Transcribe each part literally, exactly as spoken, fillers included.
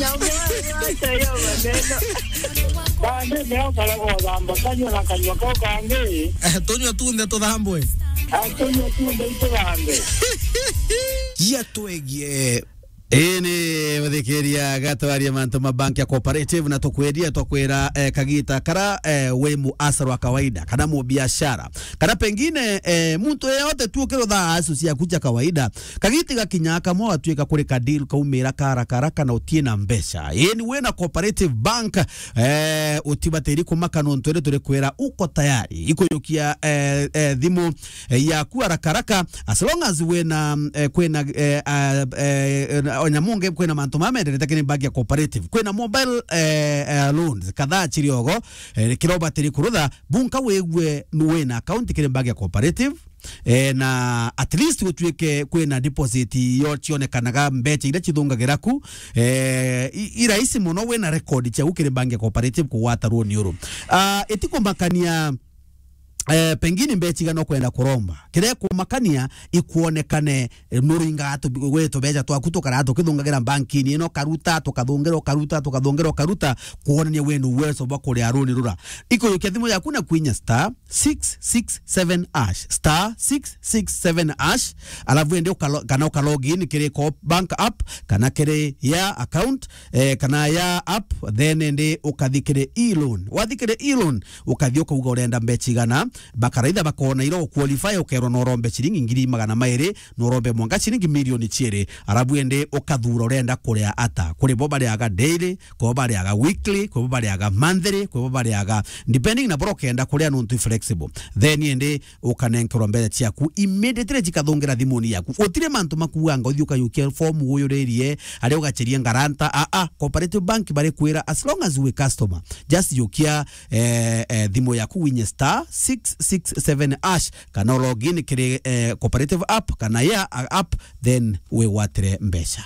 Acha hiyo maneno. Bande leo karago thamba kanywa na kanywa kau kangi. Eh, tunywe tunthe tuthambwe. Atunywe tunthe ituthambe. Jia twegie. Ii ni muthikiria gatwaria mantu ma bank ya cooperative na tukwendia twakwira, eh, kagita kara, eh, wi muasara wa kawaida kana mubiashara kana pengine, eh, muntu yeyote tu ukirutha asu ciaku cia kawaida. Kagiti gakinya kamwe watuika kuri ka deal kaumira ka haraka haraka na utie na mbeca. Ii ni wina cooperative bank, eh, utibatiri kumaka nontu iri turi kwira uko tayari ikujukia, eh, eh, thimu, eh, yaku haraka haraka, as long as wina, eh, kwina, eh, ah, eh, eh, onya mungi kwina mantu mamenderete kiri bank ya cooperative. Kwina mobile, eh, eh, loans kadhaa chiriogo, eh, kirobatiri kurutha, bunka wigue ni wina account kiri bank ya cooperative. Eh, na at least gutuike kwina deposit yo cionekanaga mbecha iria cithungagira ku, eh, i, i rahisi muno wina record ciaku kiri bank ya cooperative kugwata runi uru. Ah, itikumakania, eh, pengine mbecha igana ukwenda kuromba. Kiria kumakania ikuonekane, eh, nuringa tu, gwe tubecha twaku tukara tukithungagira bankini ino, karuta, tukathungira, ukaruta, tukathungira, ukaruta, kuonania wina uwezo bwa kuria runi rura. Ikujukia thimu yaku na kwinya star six six seven hash, star six six seven hash, alafu ende ukalo-, kana uka log in kiri co-, bank app, kana kiri ya account, eh, kana ya app, then ende ukathi kiri e-loan. Wathi kiri e-loan, ukathi ukauga urenda mbecha igana, bakaraitha bakona ira uqualify, ukerwa no urombe ciringi ngiri magana mairi, no urombe mwanka ciringi milioni ciiri, alafu ende ukathura urenda kuria ata. Kuri bo bariaga daily, kwi bo bariaga weekly, kwi bo bariaga monthly, kwi bo bariaga depending na bora ukenda kuria nontu i flexible. Then ende ukanenkerwa mbeca ciaku immediately cikathungira thimuni yaku. Utire mantu makuanga uthi ukayukia form uyuririe, aria ugacheria ngaranta. A, a, Cooperative Bank bari kwira as long as we customer, just yukia, eh, eh, thimu yaku winye star six six seven hash, kana log in kiri, eh, Cooperative app kana ya, a, app, then wigwatire mbeca.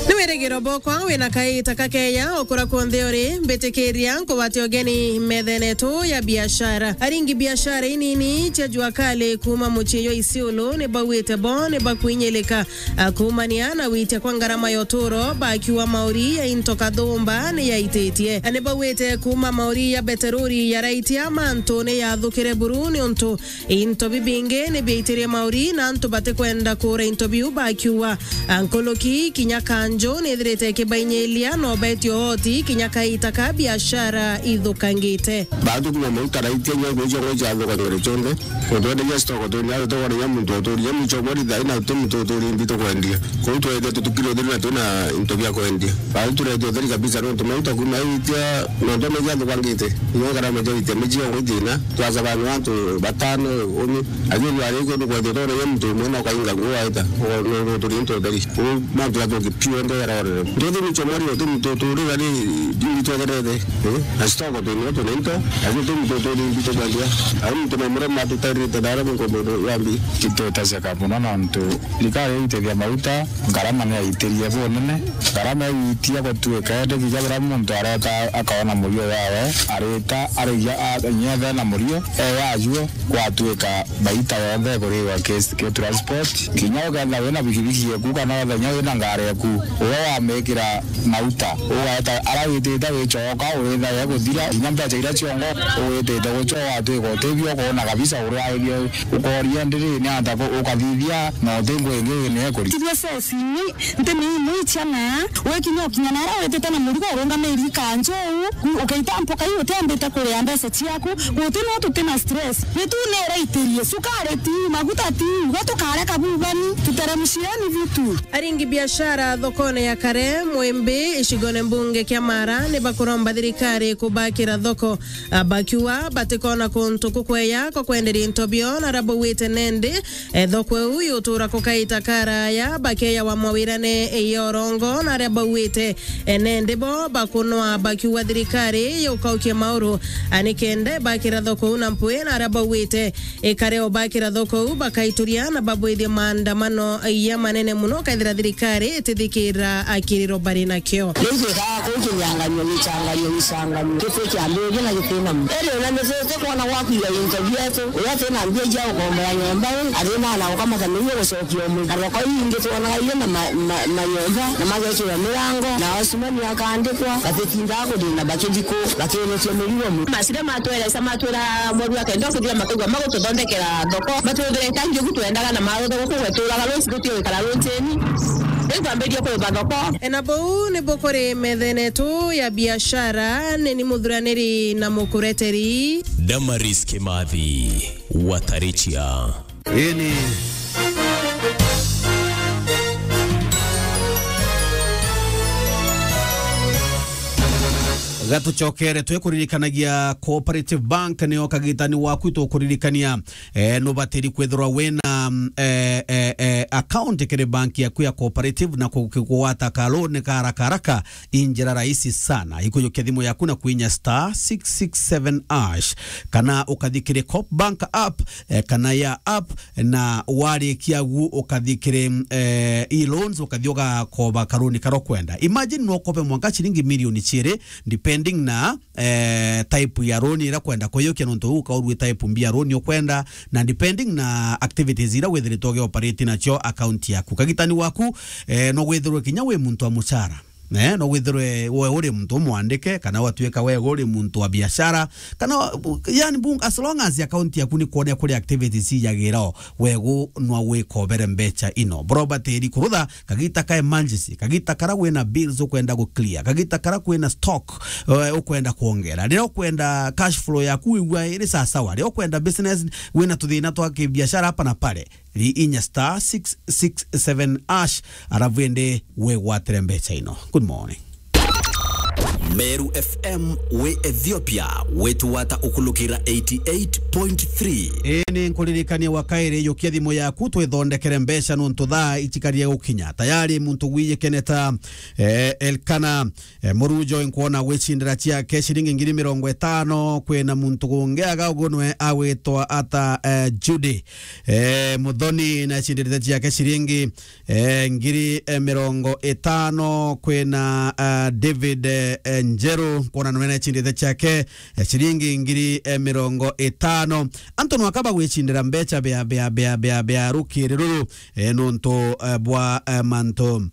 Ni wirigiro bokwa wina kaita kakeya ukura kwonthe uri, mbitikiria nkugwate ugeni methene yetu ya biashara. Aringi biashara inini cia jua kali kuma mucii jwa Isiolo ni bauite bo ni bakwinyilika, a, kumania na witia kwa ngarama ya uturo, bakiuga mauri ya into kathumba ni yaititie. A, ni bauite kuma mauri ya beteruri ya raitia mantu ni yathukire buru niuntu into bibingi ni biaitirie mauri na antu batikwenda kura into biu bakiuga, a, nkuluki kinya kanju ni ithirite ikibainyilia no betio oti kinya kaita ka biashara ithukangite. Baatu kuma mauta raitia nyo gwicio gwicio athukangire cionthe. Kutwenderia stock twini aria tukoreria muntu uturia mwicho mweri thaina tu muntu uturi mbi tukwendia. Kuu twete tutukire utheri na twina into bia kwendia. Baatu turete utheri kabisa nontu mauta kuma itia nontu megia athukangite. Nyo garama ja itia miji yo gwitina. Twasabania antu batano, umi, lakini twari kundu kwethirwa twareria muntu umwe na ukainga nguo waita, no, no, turi into utheri. Uu mantu athuki piu ende yarorere. Ndio tumi chomori, tumi tu, tu, ri gari, ndi twegerete. Eh? Na stock tu, no, tu, nento. Lakini tumi tu, tu, ndi tu, kwendia. Au muntu no murema atutarite dara mungu mundu yambi. Kitutaseka muno nontu thirikari itethia mauta, ngarama ni yaitirie bunene. Ngarama igitia gutuika indi kinya buria muntu areta akaona murio wawe, arita, arigia, a, inya ethena murio, e wajuo, gwatuika baita yonthe ikuriwa ki, ki transport. Kinya ukethira wina bikibiki yeku kana ukethira inya wina ngari yeku, uria wamikira mauta, ugaeta aria witite wichoka, urithae guthira, kinya mbeca iria ciongo witite guchoa, watuika utibio, ukona kabisa uria ibio. Ukoria ndiri ni ata ku-, ukathithia na uti ngui ingi wine kuri. Tiria sesi ni nti ni imwe ichana, wekinya ukinya nara witite na murigo urungamiri kanju, ukaita mpoka iu utiambite kuria mbeca ciaku, guti no tuti na stress. Ni tu ni iraitirie, sukari ti, maguta ti, gwe tukare kabubani, tuteremshieni vitu. Aringi biashara thokone ya Kare, Mwimbi, icigone mbunge kia Mara, ni bakuromba thirikari kubakira thoko. A, bakiuga batikona kuntu kukweya kwa kwenderia into bio na aria bauite nendi, e, thoko iu yutura kukaita karaya bakeya wa mawirane ya urongo na aria bauite, e, nendi bo bakunwa bakiuga thirikari yukaukie mauru, a, nikenda bakira thoko iu na mpwi na aria bauite ikare o bakira thoko iu bakaituria na babwithie maandamano ya manene muno kethira thirikari itithikire. ra akiriro bari nakio. Riu twikaga kuu kinyanganio, gichanganio, gichanganio. Giti kiambiria na giti na mu. Eri ona ni tuti kwona gwa kwiga into bietu, uria twina mbia cia gukombora nyomba ri, athina na gukamata mirio gucokia umwe. Na thoko ingi twonaga irio na ma-, ma-, manyomba, na magekirwa mirango, na osumani akandikwa, batitindaga kuthina bakithiko, bakirukia mirigo mu. Masire matweresa, matwira mwaru akenda kuthira makaigua magututhondekera thoko, matwithire tangi ugu twendaga na marutha guku gweturaga ruci guti gwikara rucini. Riu twambirie kuriba thoko. Na buu ni bukuri methene tu ya biashara, ni ni muthuraniri na mukureteri. Damaris Kimathi, Watarichia. Ini. Gatucokere twikuririkanagia Cooperative Bank nio kagitani waku, tukuririkania, eh, nubatiri kwithirwa wina, mm, eh, eh, eh, account kiri bank yaku ya Cooperative na ku-, kugwata ka loan ka haraka haraka. I njira rahisi sana. Ikujukia thimu yaku na kwinya star six six seven hash, kana ukathi kiri Coop Bank app, eh, kana ya app, na warikia gu ukathi kiri, eh, e-loans, ukathi ugakoba karuni karia ukwenda. Imagine no ukobe mwanka ciringi milioni ciiri, depending na, eh, type ya loan iria ukwenda kuiyukia, nontu ukaurue type mbia loan ukwenda, na depending na activities iria withiritwe ugioperate nacio account yaku. Kagitani waku, eh, no withirwe kinya wi muntu wa mucara. Eh, no withirwe we uri muntu umwandike, kana watuika we uri muntu wa biashara, kana wa-, yani, bu-, as long as account yaku ni kuonea kuri activities ijagira o, we gu nwa wikobere mbecha ino. Bro, batiri kurutha kagita ka emergency, kagita kara wina bills ukwenda gu clear, kagita kara kwina stock, eh, ukwenda kuongera. Riria ukwenda cash flow yaku wigua iri sawasawa, riria ukwenda business wina tuthina twa kibiashara hapa na pale, ri inya star six six seven hash, arabu indi wigwatire mbecha ino. Good morning. Meru F M wi Ethiopia, witugwata ukulukira eighty eight point three. Ii ni nkuririkania wa kairi, yukia thimu yaku twithondekere mbecha nontu thaa icikarie gukinya. Tayari muntu gwiyikene ta, eh, Elkana, eh, Murujo, nkwona gwicindira ciake ciringi ngiri mirongo itano. Kwina muntu gungi aga ugunwe agwitwa ata, eh, Judy, eh, Muthoni, na ecindirite ciake ciringi, eh, ngiri, eh, mirongo itano. Kwina, eh, David, eh, eh, Njeru, kwona nwe na ecindirite ciake, eh, ciringi ngiri, eh, mirongo itano. Antu nwaka bagwicindira mbecha bia, bia, bia, bia, bia rukiri ruru, eh, nontu, eh, bwa, eh, mantu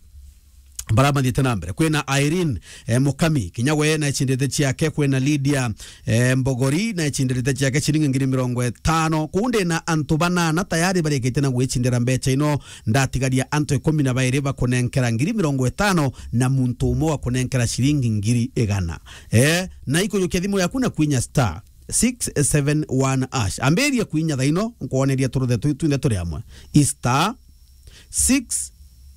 bara mathiite na mbere. Kwina Irene, eh, Mukami, kinya we na ecindite ciake. Kwina Lydia, eh, Mbogori, na ecindite ciake ciringi ngiri mirongo itano. Kuu ndi na antu banana tayari barikite na gwicindira mbecha ino. Ndatigaria antu ikumi na bairi bakunenkera ngiri mirongo itano na muntu umwe wakunenkera ciringi ngiri igana. Eh, na ikujukia thimu yaku na kwinya star six seven one hash. Ambiria kwinya thaino, nkwoneria turuthe tu twinthe turi amwe. I star six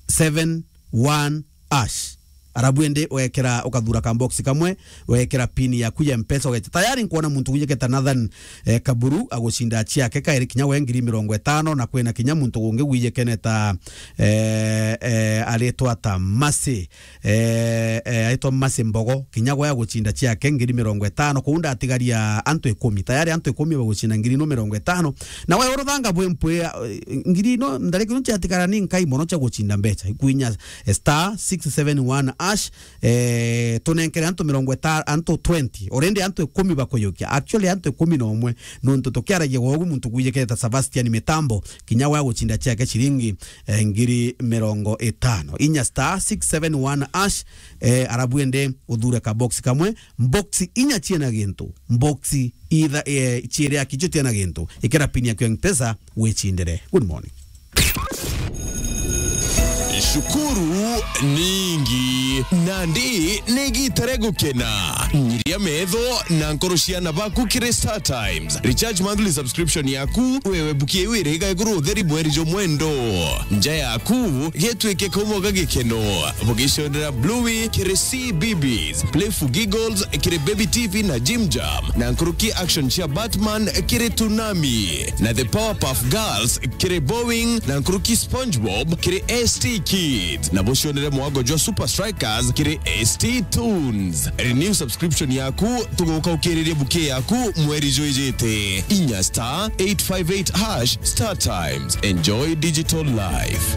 seven one hash. Arabu indi wekira, ukathura ka box kamwe, wekira pin yaku ya Mpesa, ugecha. Tayari nkwona muntu wijiketa Nathan, eh, Kaburu agucinda ciake kairi kinya we ngiri mirongo itano, na kwina kinya muntu gungi wijikene ta, eh, eh, aritwa ta Mercy, eh, eh, aitwa Mercy Mbogo, kinya gwe agucinda ciake ngiri mirongo itano. Kuu ndatigaria antu ikumi. Tayari antu ikumi bagucinda ngiri ino mirongo itano. Na we uruthanga bwe mpwe, eh, ngiri ino, ndariki ino ciatigara ni nkai mono cia gucinda mbecha. Ikwinya, eh, star six seven one hash, eh, tunenkere antu mirongo itano, antu twenty. Already antu ikumi bakuyukia. Actually, antu ikumi na umwe. Nontu tukiaragia gwogu muntu gwijikete ta Sebastian Mitambo, kinya we agucinda ciake ciringi eh, ngiri mirongo itano. Inya star six seven one hash, eh, arabu ende uthure ka box kamwe. Box inya ciena gintu. Box itha, eh, ciere akicho ciena gintu. Ikira pin yaku ya Mpesa, wicindire. Good morning. Shukuru ningi. Nandi ni gita ria gukena. Nyiria metho na nkoro ciana baku kiri Star Times. Recharge monthly subscription yaku, wewe buki iu iriga iguru utheri mweri jwa mwendo. Nja yaku, gitwike kaumo ga gikeno. Bugicondera Bluey kiri C B Bs, Playful Giggles kiri Baby T V na Jim Jam, na nkuruki action cia Batman kiri Toonami, na The Powerpuff Girls kiri Boeing, na nkuruki SpongeBob kiri S T Kids, na bucionere mwago jwa Super Strikers kiri S T Tunes. Renew subscription yaku, tuguka ukiririe buki yaku mweri jwijite. Inya star eight five eight hash Star Times. Enjoy digital life.